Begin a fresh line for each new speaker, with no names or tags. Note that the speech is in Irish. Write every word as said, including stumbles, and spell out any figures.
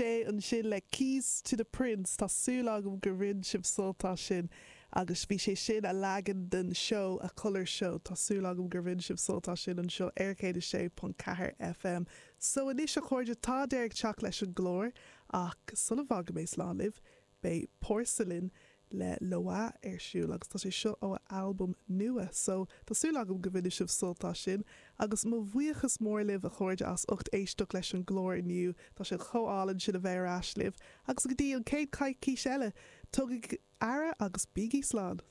sé ansin le Keys to the Prince Tá súil agam gur bhain sibh sult as sin agus bhí sé sin a leagan den show a Colour Show Tá súil agam gur bhain sibh sult as sin anseo ar céad a sé ponc ceathair FM. So anois a chairde tá deireadh ag teacht leis an gclár ach sula bhfágfaidh mé slán libh, beidh Porcelain le Loa ar siúl agus tá sé seo ó albam nua, so tá súil agam go mbainfidh sibh sult as sin agus mo bhuíochas mór libh a chairde as ucht éisteacht leis an gclár inniu, tá sé chomh hálainn sin a bheith ar ais libh agus go dtí an chéad coicís eile, tugaigí aire agus bígí slán.